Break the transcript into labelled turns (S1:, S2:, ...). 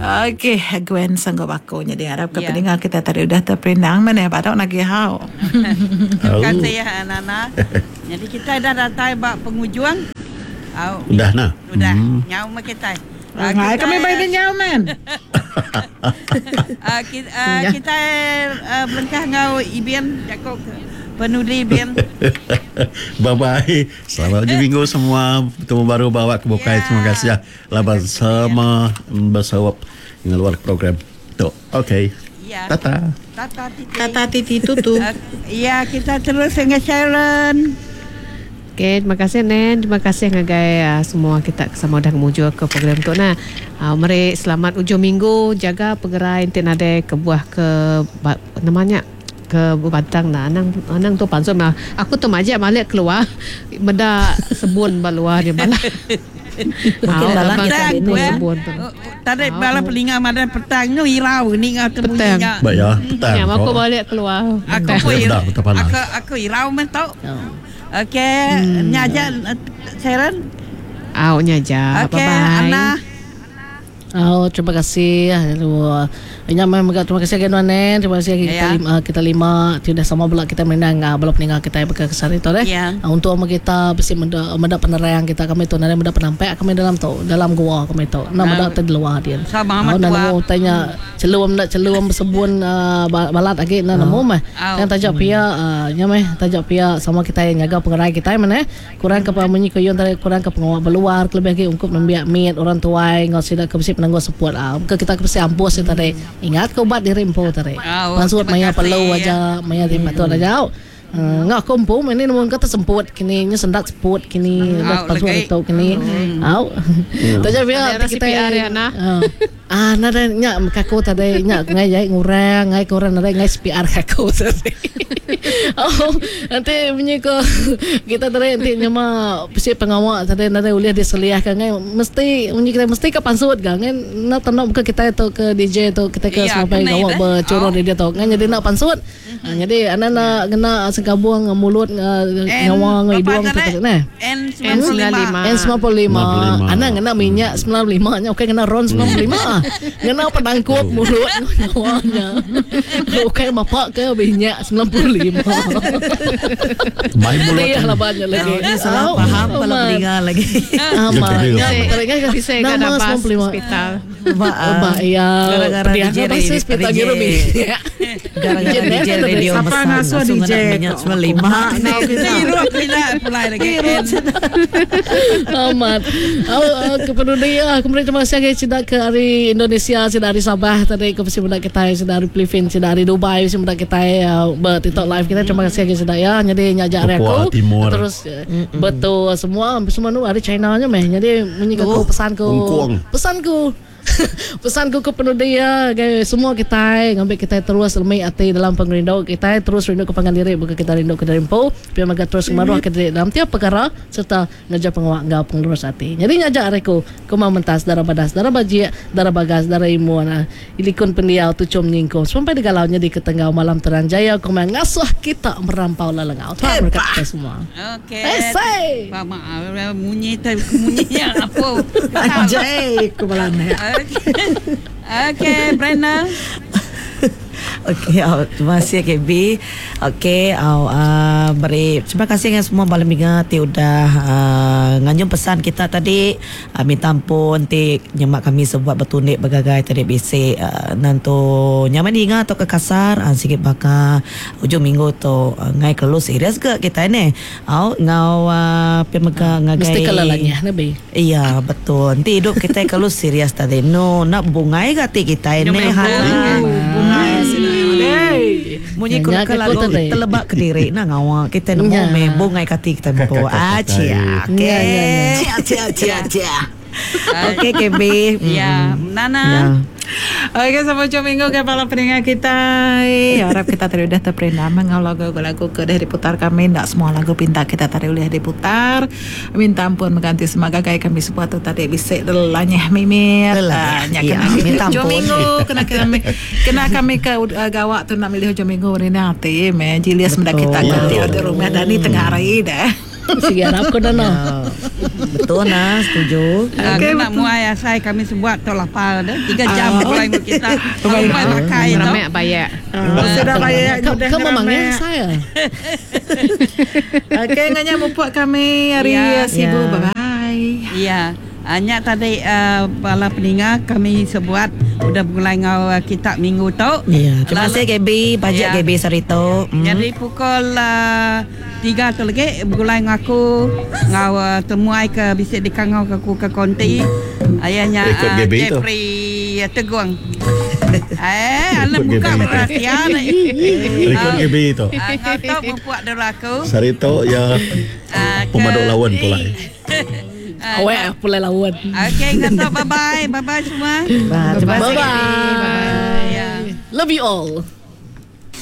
S1: Okey, Gwen sanggup aku nyadi arap ke peninga kita tadi udah terperindang meh neh baru nagih hau.
S2: Terima kasih Nana. Nyadi kitai dah datai ba pengujung.
S3: Au. Udah nah.
S2: Udah. Nyau meh kitai.
S1: Ngai kami bai deh nyau men.
S2: Kitai belengkah enggau Ibin jaku penudi Ibin.
S3: Bye bye. Selamat ujung minggu semua. Betemu baru ba awak ke bukai. Terima kasih laban sama besaup ngeluar program tu. Okay.
S2: Tata. Tata titi. Tata titi tutu. Ya kita terus enggau Sharon.
S4: Okay, terima kasih Nen. Terima kasih ngagai uh, semua kita ke sama udah ngemujur ke program tu nah. Uh, meri selamat ujung minggu, jaga pengerai enti nadai kebuah ke ba, nama nya ke bebantang nah. Anang anang tu pansut mah. Aku tu majak malik keluar meda sebun ba luar dia malah.
S2: Mungkin bala kita ni sebun tu. Tadi bala peninga madah petang nyu irau ninga temunyi nya.
S3: Ba ya, petang.
S4: Nya aku balik keluar.
S2: Aku pun irau. Aku aku irau meh tu. Okey, nya aja Sharon.
S4: Au nya aja.
S2: Okey, Anna.
S5: Au, terima kasih. Lalu nya meh mega terima kasih agi nuan Nen, terima kasih agi kita lima, kita lima ti udah sama bela kita merindang bala peninga kitai baka ke sehari tu deh. Untung meh kita bisi meda meda penerang kita kami tu nadai meda penampak kami dalam tu, dalam gua kami tu. Enda meda ti di luar din. Au enda nemu utai nya. Chelum enda chelum besebun balat agi enda nemu meh. Tang taja pia nya meh taja pia sama kitai nyaga pengerai kitai meh neh. Kurang ke munyi ku Yun tadi kurang ke pengawa beluar kelebih agi ungkup nembiak mit orang tuai enggau sida ke bisi penanggul seput ke kita ke bisi ampus nya tadi. Ingat ke ubat diri empu tadi. Pansut maya perlu aja maya ti patut aja. Enggau aku empu meh ni nemu engka tesemput kini nyu sendat seput kini udah pansut ditu kini. Au. Taja pia
S4: ti kitai
S5: ah nadai nya meh aku tadi nya ngai jai ngurang ngai ke orang nadai ngai CPR ke aku tadi. Au enti munyi ko kita tadi enti nyema bisi pengawa tadi nadai ulih diseliahka ngai mesti munyi kitai mesti ka pansut ga ngai enda tenu baka kitai tu ke DJ tu kitai ke semampai gawa bechurun radio tu ngai nyadi enda pansut. Nyadi anak enda ngena sengkabung mulut nyawa enggau idung tu tadi neh.
S4: N95.
S5: N95. Anak ngena minyak 95 nya ukai ngena ron 95. Ngena penangkup mulut enggau nyawa nya. Ukai mapa ke minyak 95.
S3: Mai mulut.
S5: Iya laban nya lagi.
S6: Nya salah faham bala peninga lagi.
S5: Amat. Nya nama 95. Ba iya
S6: Gara-gara
S5: pedih
S6: DJ
S5: aku pasal hospital
S6: DJ.
S5: ngirup minyak.
S6: Gara-gara DJ radio
S1: Sapa
S6: pesan
S1: ngasuh
S6: langsung
S1: DJ
S6: ngena minyak
S1: ko?
S6: 95.
S2: Hirup ila pulai lagi.
S5: Amat. Au uh, ke penudi ah aku meri terima kasih ngagai sida ke ari Indonesia, sida ari Sabah tadi ke bisi meda kitai, sida ari Philippines, sida ari Dubai bisi meda kitai uh, ba TikTok live kitai. Terima kasih ngagai sida ya. Nyadi nya aja ari
S3: Papua
S5: aku.
S3: Timur.
S5: Terus uh, betul semua semua nu ari China nya meh. Nyadi munyi ke aku pesan ku
S3: Ungkung.
S5: Pesan ku Pesan ku ke penudi iya ngagai semua kitai ngambi kitai terus lemi ati dalam pengerindu kitai terus rindu ke pangan diri baka kitai rindu ke diri empu pia mega terus ngemaruh ke diri dalam tiap pekara sereta ngereja pengawa enggau pengelurus ati. Nyadi nya aja ari ku Kumang Mentas Dara Badas Dara Bajik Dara Bagas Dara Imun Likun Pendiau Tuchum Nyingkung Semampai Digalau Nyadi ke Tenggau Malam Terang Jaya Kumang ngasuh kita merampau lelengau. Tuhan merekat kitai semua.
S2: Okey.
S5: Esei.
S2: Ba ma munyi tai munyi nya apo.
S6: Anjay ku bala anak.
S2: Okey, Brenda.
S6: Okey, au terima kasih KB. Okey, au uh, beri terima kasih dengan semua bala minga ti udah uh, nganjung pesan kita tadi. Uh, minta ampun ti nyema kami sebuat betundik begagai tadi bisi uh, nentu nyamai dinga tauka kasar uh, sigi baka Ujung minggu tu ngai kelalu serius ga kitai neh. Au enggau pia mega ngagai
S5: Mesti kala lanyah ne bi.
S6: Iya betul. Enti idup kitai kelalu serius tadi enu enda bebungai ga ati kitai neh ha.
S1: Bungai sida iya madei.
S6: Munyi ku leka lagu teleba kediri enda ngawa kitai nemu meh bungai ke ati kitai empu. Acia. Okey.
S5: Cia cia cia cia.
S6: Okey KB.
S2: Ya, Nana.
S1: Okey sama ujung minggu ke bala peninga kitai. Harap kita tadi udah terperindang enggau lagu-lagu ke udah diputar kami. Enda semua lagu pinta kita tadi ulih diputar. Minta ampun mega enti sema gagai kami sebuah tu tadi bisi lelanyah mimit.
S6: Lelanyah.
S1: Ah, nya
S6: Ya,
S1: kena
S6: minta
S1: ujung
S6: ampun.
S1: minggu kena kami kena kami ke uh, gawak tu nak milih ujung minggu ni ati meh jilis meda kita ke
S3: Betul.
S1: di rumah dani tengah hari dah.
S5: Sigi arap ko dah no.
S6: Betul nah, setuju.
S2: Okay, nak muai asai kami sebuat tu lapar dah. 3 jam mulai dengan kita. Sampai makai tu.
S4: Ramai bayak.
S1: Sudah bayak
S5: Kau kau memangnya saya.
S1: Okey, nganya mupuk kami hari
S2: Ya.
S1: Sibu.
S6: Ya.
S1: Bye bye.
S2: Ya. Hanya tadi bala peninga kami sebuat udah mulai ngau kita minggu tu.
S6: Ya, terima kasih KB, pajak
S2: Ya.
S6: KB Sarito.
S2: Jadi pukul 3 tu lagi bergulai ngaku ngau temuai ke bisik di kangau ke aku ke konti. Ayahnya
S3: Ikut GB tu.
S2: Jeffrey Teguang. Eh, alam
S3: Ikut
S2: buka
S3: GB tu.
S2: perhatian.
S3: Rekod GB tu.
S2: Ngau tu mempuak dulu aku.
S3: Sarito ya
S2: Ah, ke-
S3: pemaduk lawan pula.
S5: Awak pula lawan.
S2: Okey, ngau tu bye bye. Bye bye semua.
S6: Terima kasih.
S5: Bye bye.
S2: Ya.
S5: Love you all.